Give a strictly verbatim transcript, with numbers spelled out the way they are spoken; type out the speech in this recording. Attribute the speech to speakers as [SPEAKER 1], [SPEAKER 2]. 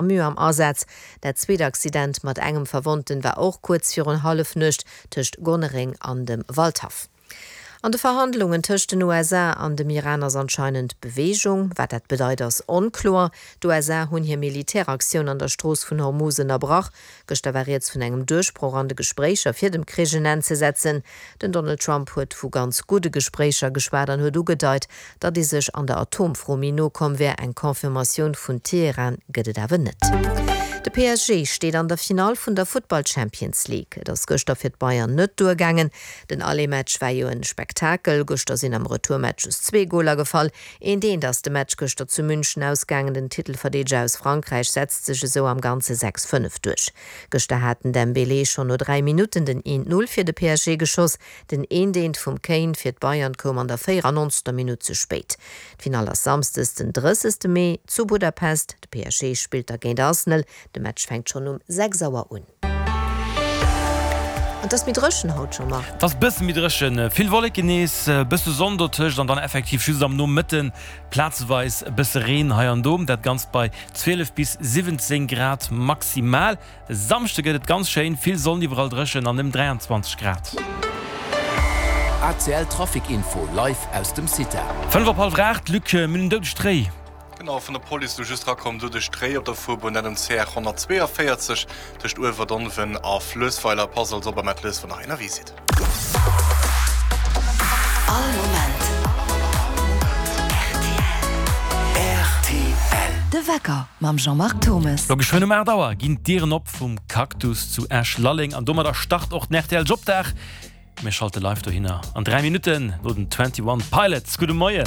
[SPEAKER 1] Samu am Asaz. Dat zweet Accident mat engem Verwonnten war och kuerz virun Hallefnuecht tëscht Gonnereng an dem Waldhaff. An de Verhandlungen tëscht den U S A an dem Iran ass anscheinend Beweegung. Wat dat bedeit, ass onkloer. D'U S A hunn hir Militäraktioun an der Strooss vun Hormus ënnerbrach. Gëschter war rieds vun engem Duerchbroch an de Gespréicher fir dem Krich en Enn ze setzen. Den Donald Trump huet vu ganz gudde Gespréicher geschwat an huet ugedeit, datt ee sech an der Atomfro méi no komm wär. Eng Confirmatioun vun Teheran gëtt et awer net. De P S G steet an der Finall vun der Futtball Champions League. Et ass gëschter fir d'Bayern net duergaangen. Den Aller-Match war jo e Spektakel. Gëschter sinn am Retourmatch just zwee Goler gefall. Eent eent ass de Match gëschter zu München ausgaangen. Den Titelverdeedeger aus Frankräich setzt sech esou am Ganze sechs fënnef duerch. Gëschter hat den Dembélé schonn no dräi Minutten den eent null fir de P S G geschoss. Den eent eent vum Kane fir d'Bayern koum an der véierannonzegster Minutt ze spéit. D'Finall ass samschdes den drëssegste Mee zu Budapest. De P S G spillt da géint Arsenal. De Match fänkt schonn um sechs Auer un. An et ass méi dréchen haut scho mol.
[SPEAKER 2] Et ass bësse méi dréchen, vill Wolleken nees, bësse Sonn dotëscht an dann effektiv just am Nomëtten plazeweis e bësse Reen hei an do. Dat Ganzt bei zwielef bis siwwenzéng Grad maximal. E Samschde gëtt et ganz schéin, vill Sonn, iwwerall dréchen an ëm dräianzwanzeg Grad.
[SPEAKER 3] A C L Trafic Info live aus dem CITA.
[SPEAKER 2] Fënnef op hallwer aacht, Luc, mir hunn en doudegt Réi.
[SPEAKER 4] Genau, vun der Police elo just erakomm, doudegt Réi op der Fuerbunn, dat um C R honnertzweeënvéierzeg tëscht Uewerdonwen a Fluessweiler. Passt also op a mellt lues, wann der ënnerwee sidd.
[SPEAKER 5] All Moment R T L. De Wecker mam Jean-Marc Thomes.
[SPEAKER 2] Lo geschwënn um aacht Auer ginn d'Dieren op vum Cactus zu Esch-Lalleng an domadder start och den R T L Jobdag. Mir schalte live dohinner an dräi Minutten no den Twenty One Pilots. Gudde Moien!